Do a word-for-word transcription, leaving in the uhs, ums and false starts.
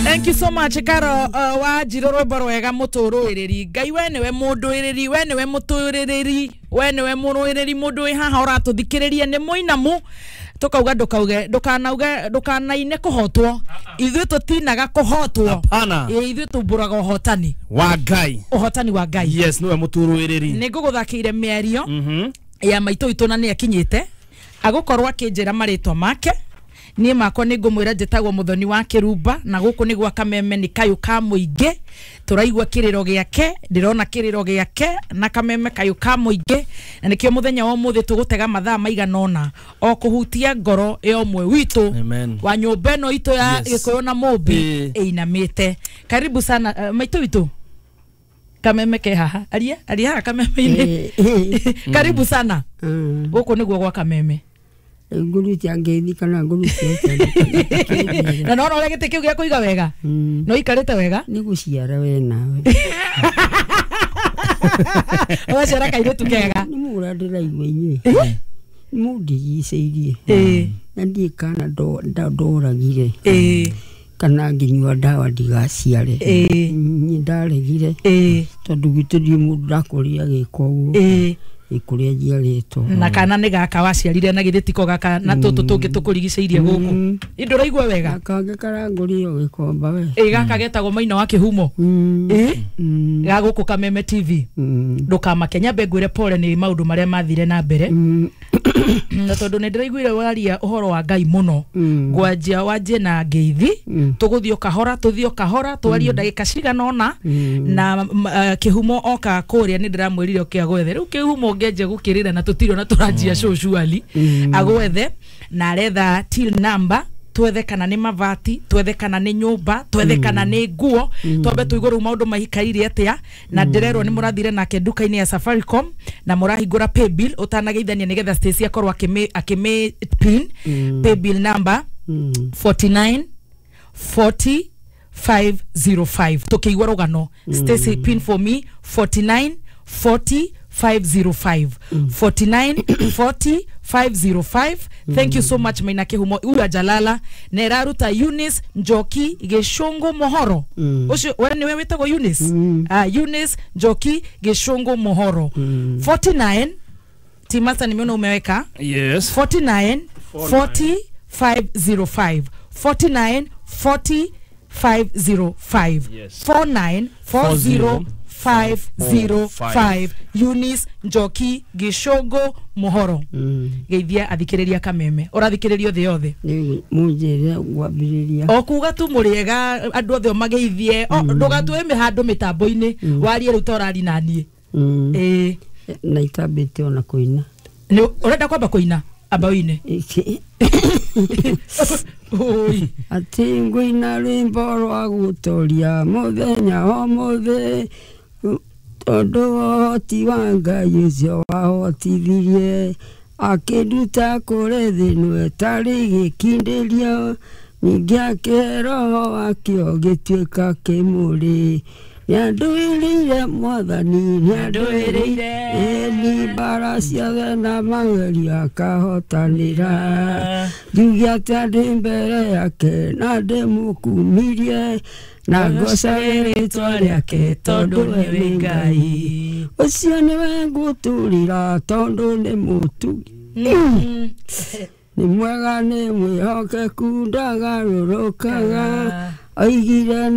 Thank you so much Karo uh, wa njiro rwimbo rwega mutururiri. Ngai we niwe munduiriri, we niwe mutururiri, we niwe muruiriri mundu wi haha uratuthikiriria ni muinamu tukauga ndukauge ndukanauge ndukanaine kuhotwo. Ithuĩ tutinaga kuhotwo. Hapana. Ithuĩ tumburaga uhotani wa Ngai. Uhotani wa Ngai. Yes, niwe mutururiri. Nĩ ngũgũthakĩire mĩario Mhm. ya maitũ itũ na nĩ akinyĩte agũkorwo akĩnjĩra marĩtwa make. Niĩ makwa nĩ ngũmwĩra njĩtagwo Muthoni wa Kĩrumba na gũkũ nĩ gwa Kameme nĩ kayũ ka mũingĩ. Tũraigua kĩrĩro gĩake, ndĩrona kĩrĩro gĩake na Kameme kayũ ka mũingĩ, na nĩkĩo mũthenya wa ũmũthĩ tũgũtega mathaa maigana ũna o kũhutia ngoro ya ũmwe witũ Amen. wa nyũmba ĩno itũ ya Yes. Gĩkũyũ na Mũmbi Ĩĩ. ĩinamĩte. Karibu sana uh, maitũ witũ. Kameme ke haha, aria aria haha Kameme-inĩ. Karibu sana. Gũkũ nĩguo gwa Kameme. Ngurutia ngeithi kana ngurutia ũtĩa. Na nona ũrĩa gĩtĩ kĩu gĩa kũiga wega no ikarĩte wega. Nĩ gũciara we nawe. Ũgaciara kairĩtu kega. Nĩ mũra ndĩraigua inyuĩ. Nĩ mũndigicĩirie. Ĩĩ. Na ndiĩ kana ndoragire. Ĩĩ. Kana ngĩnyua ndawa ndigaciare. Ĩĩ. Niĩ ndaregire. Ĩĩ. Tondũ gwitũ ndiĩ mũndũ ndakũria agĩka ũguo. Ĩĩ. Ĩkũrĩa njiarĩtwo. Na kana nĩ gaka waciarire na githĩ tiko gaka na tũtũ tũngĩ tũkũrigicĩirie gũkũ. Ĩ ndũraigua wega? Na kangĩ karangũrire gĩkomba we. Ĩ gaka getagwo Maina wa Kĩhumo. Ĩ ga gũkũ Kameme T V. Ndũkamake, nyambe ngwĩre pole nĩ maũndũ marĩa mathire na mbere. Na tondũ nĩ ndĩraiguire waria ũhoro wa Ngai mũno. Ngwanjia wanjie na ngeithi, tũgũthiĩ o kahora, tũthiĩ o kahora, twarie ndagĩka cigana ũna na Kĩhumo oka kũrĩa nĩ ndĩramwĩrire oke agwethe. Rĩu Kĩhumo ũngĩanjia gũkĩrĩra na tũtirĩ ona tũranjia show surely. Agwethe na aretha till number, twethe kana nĩ mabati, twethe kana nĩ nyũmba, twethe kana nĩ nguo, twambe tũigue rĩu maũndũ maikaire atĩa. Na ndĩrerwo nĩ mũrathire nake nduka-inĩ ya Safaricom na mũrahingũra paybill ũtanageithania nĩgetha Stacy akorwo akĩmĩ akĩmĩ pin paybill number forty-nine forty five zero five. Tũkĩigua rũgano Stacy pin for me forty-nine forty five zero five. forty-nine forty five zero five. Thank you so much Maina Kĩhumo. Uyu ajalala na ĩraruta Eunice Njoki Gĩcũngũ Mohoro. Ũcio we nĩwe wĩtagwo Eunice? Ah, Eunice Njoki Gĩcũngũ Mohoro. forty-nine Timasa nimeona umeweka. Yes. forty-nine forty five zero five. forty-nine forty five zero five. Yes. forty-nine four zero five zero five. Eunice Njoki Gĩcũngũ Mohoro. Geithia athikĩrĩria Kameme. Ũrathikĩrĩrio thĩ yothe. Rĩu mũnjĩre ngwambĩrĩria. O kuga tu mũrĩega andũ othe mageithie. Ndũgatue mĩhandũ mĩtambo-inĩ warie rĩu ta ũrari na niĩ. Ĩĩ. Na itambĩte ona kũina. Nĩ ũrenda kwamba kũina? Amba ũine. Oi. Atĩ ngũina rwĩmbo rwa gũtoria mũthenya ũmũthĩ tondũ ũhoti wa Ngai ũcio wahotithirie akĩnduta kũrĩ thĩ ĩno ĩtarĩ gĩkindĩrio ningĩ akĩhe roho wakĩo gĩtuĩka kĩmũrĩ. Nĩandũĩrĩire Mwathani, nĩandũĩrĩire ĩni mbara ciothe na magerio akahotanĩra. Njuge atĩa ndĩ mbere yake na ndĩmũkumirie na ngocage rĩtwa rĩake tondũ we nĩ Ngai. Ũcio nĩwe ngũtũrĩra tondũ nĩ mũtugi. Nĩ mwega nĩ mwĩhokeku ndagarũrũkaga oigire